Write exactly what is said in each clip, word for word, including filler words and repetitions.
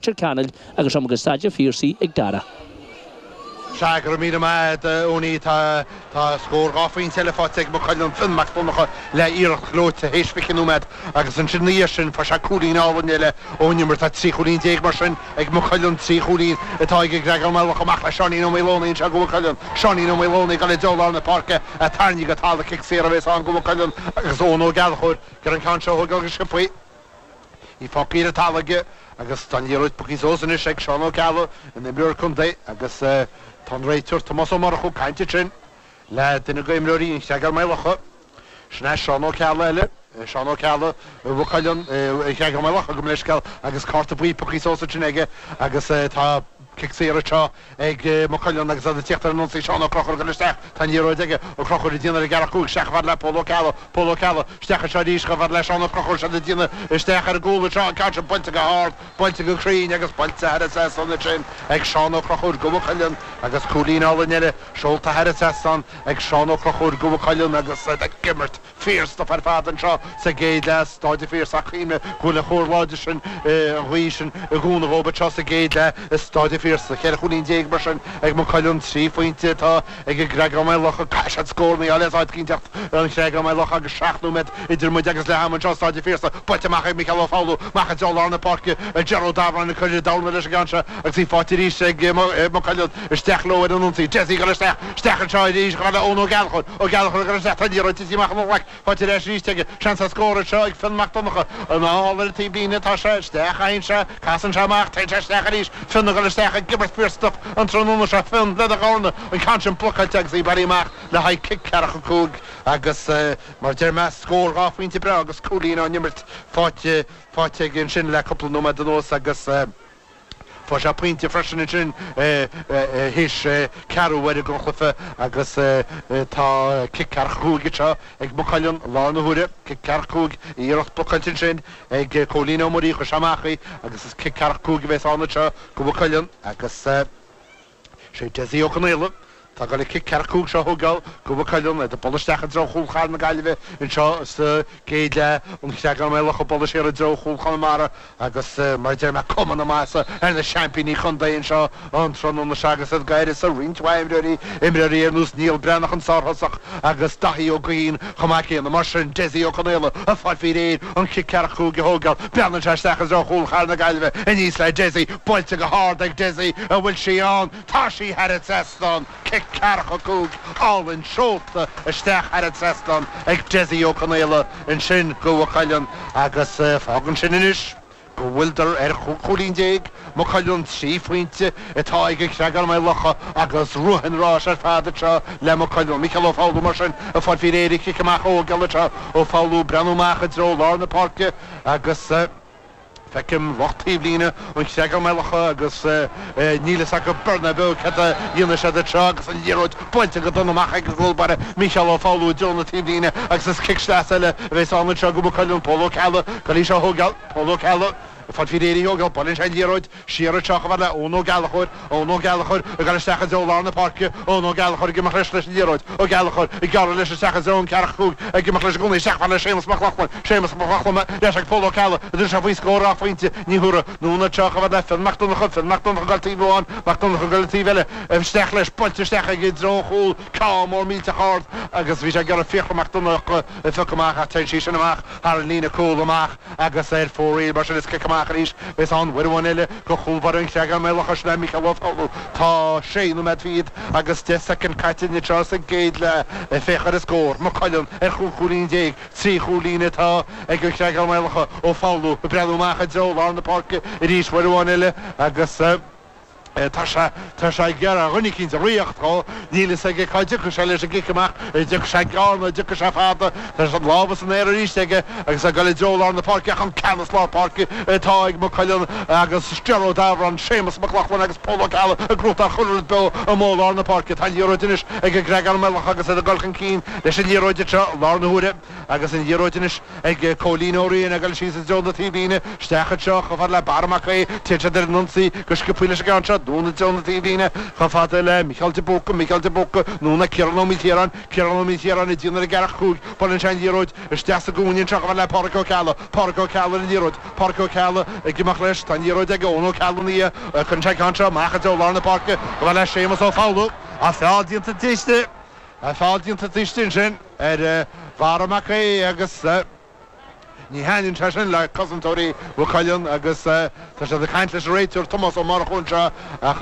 Leitir Ceanainn agus seo go Staid an Phiarsaigh ag Dara. Sea, go raibh míle maith agat, a Eoiní. Tá tá scór dhá phointe eile faighte ag Maigh Cuilinn, Fionn Mac Donncha le iarracht ghleoite théis fiche nóiméad agus ansin ina dhiaidh sin fuair sé cúilín álainn eile ón imirt. Tá trí chúilín déag mar sin ag Maigh Cuilinn, trí chúilín atá ag an gCreagán Maigh Locha. Amach le Seáinín Ó Maoileonaí anseo go Maigh Cuilinn. Seáinín Ó Maoileonaí ag dul i dtreo lár na páirce, tarraingthe go talamh, cic saor a bheas ann go Maigh Cuilinn agus Eoin Ó Gallchóir ag iarraidh an ceann seo a thógáil go sciobtha. Í fágtha ar an talamh aige agus tá an liathróid pioctha suas anois ag Seán Ó Ceallaigh, an imreoir contae, agus tá an réiteoir Tomás Ó Murchú ag caint ansin le duine d'imreoirí an Chreagáin Maigh Locha. Sin é Seán Ó Ceallaigh eile, Seán Ó Ceallaigh, Mhaigh Cuilinn, an Chreagáin Maigh Locha, gabh mo leithscéal, agus cárta buí pioctha suas ansin aige agus tá cic saor anseo ag Maigh Cuilinn agus iad ag tíocht ar an ionsaí. Seán Ó Conchúir ag dul isteach. Tá an liathróid aige. Ó Conchúir ag déanamh ar an gceathracha cúig. Isteach chomh fada le Pól Ó Ceallaigh. Pól Ó Ceallaigh. Isteach anseo arís chomh fada le Seán Ó Conchúir. Siad ag déanamh isteach ar an gcúl anseo. An ceann sin buailte go hard, buailte go cruinn agus buailte thar an trasnán ansin ag Seán Ó Conchúir go Maigh Cuilinn agus cúilín álainn eile seolta thar an trasnán ag Seán Ó Conchúir go Maigh Cuilinn agus iad ag imirt fíorstuif ar fad anseo sa gcéad leath. Staid an Phiarsaigh ach cuimhnigh go bhfuil an chóir láidir sin, an ghaoth sin i gcúnamh dhóibh anseo sa gcéad leath i Staid an Phiarsaigh. Ceithre chúilín déag mar sin ag Maigh Cuilinn, trí phointe atá ag an gCreagán Maigh Locha. Caithfidh siad scóranna a fháil as áit eicínt an Chreagáin Maigh Locha agus seacht nóiméad idir muid agus leath ama anseo i Staid an Phiarsaigh. Buailte amach ag Micheál Ó Foghlú, amach i dtreo lár na páirce, Ger Ó Dabhráin ag cur i dtorna leis an gceann seo agus í faighte arís ag Maigh Cuilinn. Isteach leo ar an ionsaí. Dessie ag dul isteach, isteach anseo arís chomh fada le Eoin Ó Gallchóir. Ó Gallchóir ag dul isteach, tá an liathróid tite amach ina ghlac. Faighte ar ais arís aige. Seans ar scór anseo ag Fionn Mac Donncha. Anall ar an taobhlíne atá sé. Isteach a théann sé. Casann sé amach. Téann sé isteach arís. Fionn ag dul isteach ag imirt fíorstuif an tráthnóna seo. Fionn lena dhorna. An ceann sin blocáilte agus í bailithe amach le haghaidh cic ceathracha cúig agus mar a deir mé, scór dhá phointe breá agus cúilín á n-imirt faighte faighte aige ansin le cúpla nóiméad anuas agus Fuair sé pointe freisin ansin théis ceathrú uaire den chluiche agus tá cic ceathracha cúig anseo ag Maigh Cuilinn i láthair na huaire. Cic ceathracha cúig, iarracht blocáilte ansin ag Cóilín Ó Muirí, chuir sé amach í agus is cic ceathracha cúig a bheas ann anseo go Maigh Cuilinn agus sé Dessie Ó Conaola atá ag dul an cic ceathracha cúig seo a thógáil go Maigh Cuilinn, iad ag bualadh isteach i dtreo chúl Chathair na Gaillimhe anseo sa gcéad leath, an Chreagán Maigh Locha ag bualadh siar i dtreo chúl Chonamara agus mar a deir mé cuma na maitheasa ar na seaimpíní contae anseo an tráthnóna seo agus iad d'uireasa roinnt mhaith imreoirí, imreoirí ar nós Niall Breathnach an sárthosach agus Daithí Ó Guithín chomh maith céanna. Mar sin, Dessie Ó Conaola ag fáil faoi réir an cic ceathracha cúig a thógáil. Breathnaíonn sé isteach i dtreo chúl Chathair na Gaillimhe aníos le Dessie, buailte go hard ag Dessie, an bhfuil sí ann? Tá sí thar an trasnán! Cic ceathracha cúig álainn seolta isteach thar an trasnán ag Dessie Ó Conaola ansin go Mhaigh Cuilinn agus fágann sin anois go bhfuileadar ar chúig chúilín déag, Maigh Cuilinn, trí phointe atá ag an Chreagán Maigh Locha agus rith an ráis ar fad anseo le Maigh Cuilinn. Micheál Ó Foghlú mar sin ag fáil faoi réir an chic amach a thógáil anseo. Ó Foghlú ag breathnú amach i dtreo lár na páirce agus. Feicim lucht taobhlíne an Chreagáin Maigh Locha agus níl fhios acu beir ná beo céard a dhéanfaidh siad anseo agus an liathróid buailte go dona amach ag an gcúl báire Mícheál Ó Foghlú i dtreo na taobhlíne agus is cic sleasa eile a bheas ann anseo go Maigh Cuilinn. Pól Ó Ceallaigh ag dul í seo a thógáil. Pól Ó Ceallaigh ag fáil faoi réir í a thógáil. Buaileann sé an liathróid siar anseo chomh fada le Eoin Ó Gallchóir. Eoin Ó Gallchóir ag dul isteach i dtreo lár na páirce. Eoin Ó Gallchóir ag imeacht leis leis an liathróid. Ó Gallchóir ag gearradh leis isteach i dtreo an ceathracha cúig ag imeacht leis i gcónaí isteach chomh fada le Séamus Mac Lochlainn. Séamus Mac Lochlainn ar ais ag Pól Ó Ceallaigh a dúirt sé faoi scór dhá phointe ní thabharfaidh anonn anseo chomh fada le Fionn Mac Donncha. Fionn Mac Donncha ag dul taobh amháin, Mac Donncha ag dul an taobh eile. Isteach leis, buailte isteach aige i dtreo an chúil. Ceann mór millteach ard agus bhí sé ag iarraidh Fiachra Mac Donncha a phiocadh amach ach téann sí sin amach thar an líne cúl amach agus ar fóraoil. Mar sin is cic amach arís a bheas ann uair amháin eile go chúl báire an Chreagáin Maigh Locha, sin é Mícheál Ó Foghlú. Tá sé nóiméad fichead agus deich soicind caite anseo sa gcéad leath. Féach ar an scór, Maigh Cuilinn ar chúig chúilín déag, trí chúilín atá ag an Chreagán Maigh Locha. Ó Foghlú ag breathnú amach i dtreo lár na páirce arís uair amháin eile agus. Tá sé, tá sé ag iarraidh dhuine eicínt a ritheacht dhó. Níl fhios aige cá dtiocfaidh sé leis an gcic amach, an dtiocfaidh sé gearr nó an dtiocfaidh sé fada. Tá an lámha san aer arís aige agus é ag dul i dtreo lár na páirce ach an ceannas lár páirce atá ag Maigh Cuilinn agus Ger Ó Dabhráin, Séamus Mac Lochlainn agus Pól Ó Ceallaigh ag gnóthachtáil chuile rud beo amuigh i lár na páirce. Tá an liathróid anois ag an gCreagán Maigh Locha agus iad ag dul chun cinn leis an liathróid anseo i láthair na huaire agus an liathróid anois ag Cóilín Ó Riain ag dul síos i dtreo na taobhlíne, isteach anseo chomh fada le Barra Mac Aodha, téann siad ar an ionsaí go sciobthaí leis an gceann seo. Anonn i dtreo na taobhlíne chomh fada le Micheál de Búrca, Micheál de Búrca, anonn le Ciarán Ó Maoilchiaráin, Ciarán Ó Maoilchiaráin ag déanamh ar an gceathracha cúig, buaileann sé an liathróid isteach sa gcúinne anseo chomh fada le Pádraic Ó Ceallaigh, Pádraic Ó Ceallaigh ar an liathróid, Pádraic Ó Ceallaigh ag imeacht leis, tá an liathróid ag Eoin Ó Ceallaigh ina dhiaidh, cuireann sé an ceann seo amach i dtreo lár na páirce chomh fada le Séamus Ó Foghlú, ach feall déanta taobh feall déanta taobh istigh ansin ar Bharra Mac Aodha agus ní thaitníonn sé sin le cosantóirí Mhaigh Cuilinn agus tá siad ag caint leis an réiteoir Tomás Ó Murchú anseo ach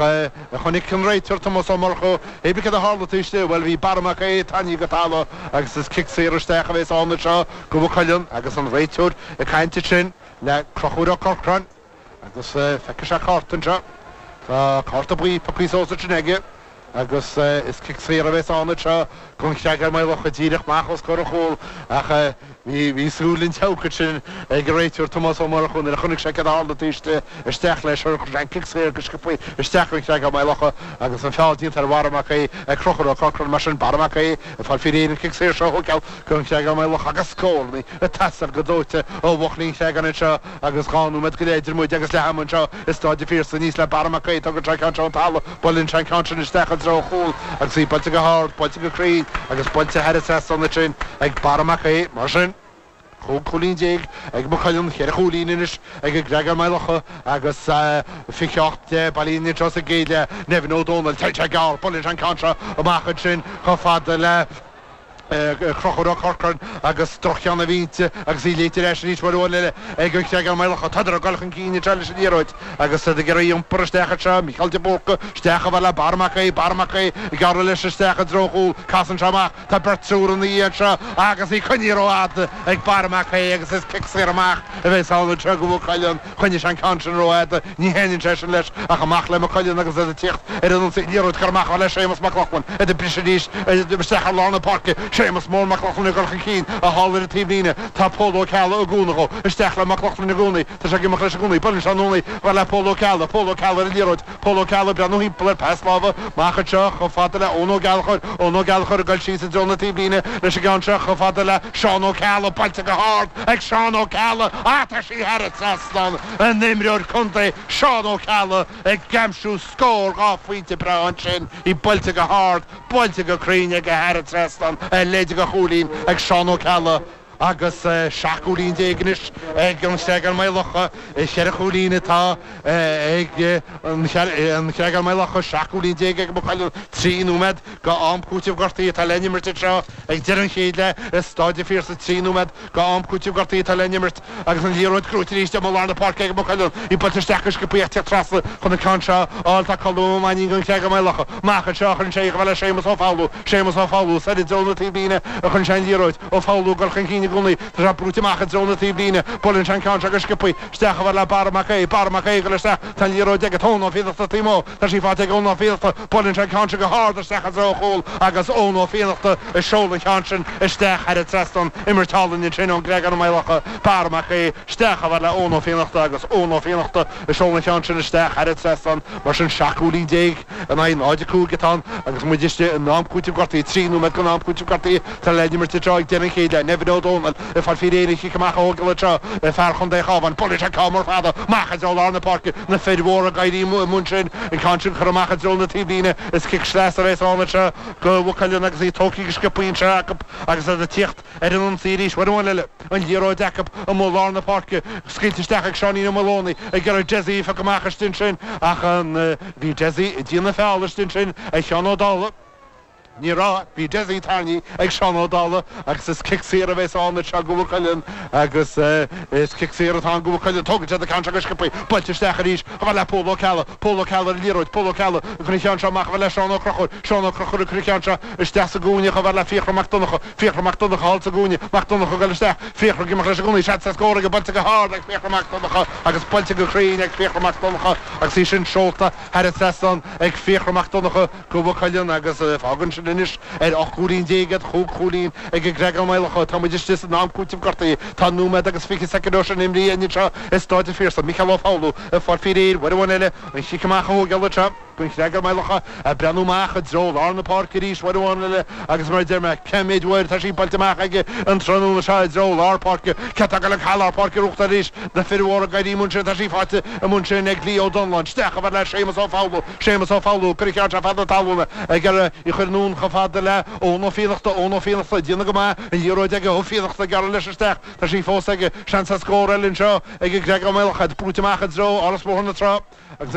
chonaic an réiteoir Tomás Ó Murchú cibé céard a tharla taobh istigh, bhuel bhí Barra Mac Aodha tarraingthe go talamh agus is cic saor isteach a bheas ann anseo go Mhaigh Cuilinn agus an réiteoir ag caint ansin le Conchúr Ó Corcráin agus feicfidh sé cárta anseo. Tá cárta buí pioctha suas ansin aige. Agus is cic saor a bheas ann anseo don Chreagán Maigh Locha díreach amach os comhair an chúil ach bhí bhí súil an tseabhaic ansin ag an réiteoir Tomás Ó Murchú nuair a chonaic sé céard a tharla taobh istigh isteach leis chuir sé an cic saor go sciobtha isteach don Chreagán Maigh Locha agus an feall déanta ar Bharra Mac Aodha ag Conchúr Ó Corcráin mar sin Barra Mac Aodha ag fáil faoi réir an cic saor seo a thógáil don Chreagán Maigh Locha agus scóranna ag teastáil go dóite ó bhuachaillí an Chreagáin anseo agus dhá nóiméad go leith idir muid agus leath ama anseo i Stáid an Phiarsaigh aníos le Barra Mac Aodha tógann sé an ceann seo ón talamh buaileann sé an ceann sin isteach i dtreo an chúil agus í buailte go hard, buailte go cruinn agus buailte thar an trasnán ansin ag Barra Mac Aodha. Mar sin, chúig chúilín déag ag Maigh Cuilinn, cheithre chúilín anois ag an gCreagán Maigh Locha agus fiche ocht deich bailithe anseo sa gcéad leath. Nevin Ó Dónaill, téann sé gearr, buaileann sé an ceann seo amach ansin chomh fada le Conchúr Ó Corcráin agus droch-cheann a bhí inti agus í léite ar ais arís uair amháin eile ag an Chreagán Maigh Locha. Tádar ag dul chun cinn anseo leis an liathróid agus iad ag iarraidh í a iompar isteach anseo. Mícheál de Búrca isteach chomh fada le Barra Mac Aodha, Barra Mac Aodha ag gearradh leis isteach i dtreo an chúil. Casann sé amach. Tá beirt triúr ina dhiaidh anseo agus í coinnithe rófhada ag Barra Mac Aodha agus is cic saor amach a bheas ann anseo do Mhaigh Cuilinn. Choinnigh sé an ceann sin rófhada. Ní thaitníonn sé sin leis ach amach le Maigh Cuilinn agus iad ag tíocht ar an ionsaí. Liathróid curtha amach le Séamus Mac Lochlainn. Iad ag briseadh arís isteach ar lár na páirce. Séamus Mór Mac Lochlainn ag dul chun cinn, thall ar an taobhlíne. Tá Pól Ó Ceallaigh ag cúnamh dhó. Isteach le Mac Lochlainn i gcónaí. Tá sé ag imeacht leis i gcónaí. Buaileann sé anonn í chomh fada le Pól Ó Ceallaigh. Pól Ó Ceallaigh ar an liathróid. Pól Ó Ceallaigh ag breathnú thimpeall air. Pas láimhe amach anseo chomh fada le Eoin Ó Gallchóir. Eoin Ó Gallchóir ag dul síos i dtreo na taobhlíne leis an gceann seo chomh fada le Seán Ó Ceallaigh. Buailte go hard ag Seán Ó Ceallaigh. Ach tá sí thar an trasnán. An t-imreoir contae Seán Ó Ceallaigh ag aimsiú scór dhá phointe breá ansin. Í buailte go hard, buailte go cruinn aige thar an trasnán, a leithéid de chúilín ag Seán Ó Ceallaigh agus seacht gcúilín déag anois ag an Chreagán Maigh Locha. Ceithre chúilín atá ag an Chreagán Maigh Locha, seacht gcúilín déag ag Maigh Cuilinn. Trí nóiméad go am cúitimh gortaithe atá le n-imirt anseo ag deireadh an chéad leath i Stáid an Phiarsaigh. Trí nóiméad go am cúitimh gortaithe atá le n-imirt agus an liathróid gnóite arís i lár na páirce ag Maigh Cuilinn. Í buailte isteach go sciobtha ach teacht trasna chun an ceann seo a fháil. Tá Colm Ó Mainnín don Chreagán Maigh Locha. Amach anseo a chuireann sé í chomh fada le Séamus Ó Foghlú. Séamus Ó Foghlú soir i dtreo na taobhlíne a chuireann sé an liathróid. Ó Foghlú ag dul chun cinn i gcónaí. Tá sé brúite amach i dtreo na taobhlíne. Buaileann sé an ceann seo go sciobtha isteach chomh fada le Barra Mac Aodha. Barra Mac Aodha ag dul isteach. Tá an liathróid aige. Tá Eoin Ó Fiannachta taobh amuigh. Tá sí faighte ag Eoin Ó Fiannachta. Buaileann sé an ceann seo go hard isteach i dtreo an chúil agus Eoin Ó Fiannachta ag seoladh an ceann sin isteach thar an trasnán. Imirt álainn ansin ón gCreagán Maigh Locha. Barra Mac Aodha isteach chomh fada le Eoin Ó Fiannachta agus Eoin Ó Fiannachta ag seoladh an ceann sin isteach thar an trasnán. Mar sin seacht gcúilín déag in aghaidh náid a cúig atá ann agus muid istigh in am cúitimh gortaithe, trí nóiméad den am cúitimh gortaithe atá le n-imirt anseo ag deireadh an chéad leath. Nevin Ó Dónaill ag fáil faoi réir an chic amach a thógáil anseo, fear Chontae an Chabháin. Buaileann sé ceann mór fada amach i dtreo lár na páirce, na fir mhóra ag éirí amuigh ansin, an ceann sin curtha amach i dtreo na taobhlíne. Is cic sleasa a bheas ann anseo do Mhaigh Cuilinn agus í tógtha go sciobtha anseo acu agus iad ag tíocht ar an ionsaí arís. Uair amháin eile, an liathróid acu amuigh lár na páirce, scaoilte isteach ag Seáinín Ó Maolónaigh ag iarraidh Dessie a phiocadh amach istigh ansin ach bhí Dessie ag déanamh feall istigh ansin ar Sheán Ó Dálaigh. Ní raibh, bhí Dessie tarraingthe ag Seán Ó Dálaigh agus is cic saor a bheas ann anseo do Mhaigh Cuilinn agus is cic saor atá ann do Mhaigh Cuilinn. Tógann siad an ceann seo go sciobtha, buailte isteach arís chomh fada le Pól Ó Ceallaigh. Pól Ó Ceallaigh ar an liathróid, Pól Ó Ceallaigh ag cur an cheann seo amach chomh fada le Seán Ó Conchúir. Seán Ó Conchúir ag cur an cheann seo isteach sa gcúinne chomh fada le Fiachra Mac Donncha. Fiachra Mac Donncha thall sa gcúinne, Mac Donncha ag dul isteach, Fiachra ag imeacht leis i gcónaí, seans ar scór aige, buailte go hard ag Fiachra Mac Donncha agus buailte go cruinn ag Fiachra Mac Donncha agus í sin seolta thar an trasnán ag Fiachra Mac Donncha do Mhaigh Cuilinn agus fágann sin anois ar ocht gcúilín déag iad, chúig chúilín ag an gCreagán Maigh Locha. Tá muid istigh san am cúitimh gortaithe. Tá nóiméad agus fiche soicind ó sin imrithe anseo i Stáid an Phiarsaigh. Micheál Ó Foghlú ag fáil faoi réir uair amháin eile an chic amach a thógáil anseo. don Chreagán Maigh Locha ag breathnú amach i dtreo lár na páirce arís uair amháin eile agus mar a deir mé cé mhéad uair tá sí buailte amach aige an tráthnóna seo i dtreo lár páirce cé atá ag gabháil go lár páirce uachtar arís na fir mhóra ag éirí amuigh ansin tá sí faighte amuigh ansin ag Leo Donlon isteach chomh fada le Séamus Ó Foghlú Séamus Ó Foghlú cuir an ceann seo feadh na talún ag iarraidh í a chur anonn chomh fada le Eoin Ó Fiannachta Eoin Ó Fiannachta ag déanamh go maith an liathróid aige Ó Fiannachta ag gearradh leis isteach tá sí fós aige seans ar scór eile anseo ag an gCreagán Maigh Locha brúite amach i dtreo Áras Bhóthar na Trá agus